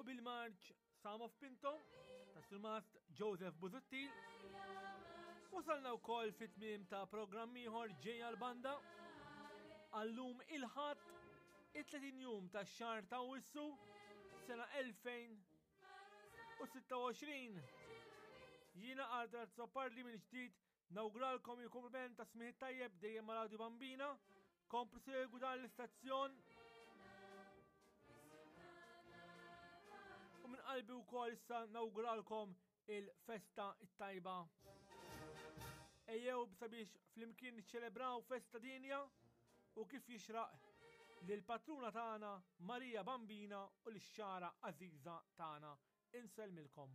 U bil-marċ Psalm of Pinto ta' Surmast Joseph Busuttil. Wasalna wkoll fit-tmiem ta' programm ieħor ġejja l-banda. Għallum il-ħadd it-30 jum ta' xahar ta' Wissu sena 2026. Jiena Arthur Azzopardi mill-ġdid Nawguralkom il-kumpliment ta' smigħ tajjeb dejjem ma' Radio Bambina. Komplu segwu dan l-istazzjon. U minn qalbi wkoll issa nawguralkom il-festa it-tajba. Ejjew sabiex flimkien niċċelebraw festa dinja u kif jixraq lil patruna tagħna Marija Bambina u lix-xara Aziza tagħna. Insellmilkom.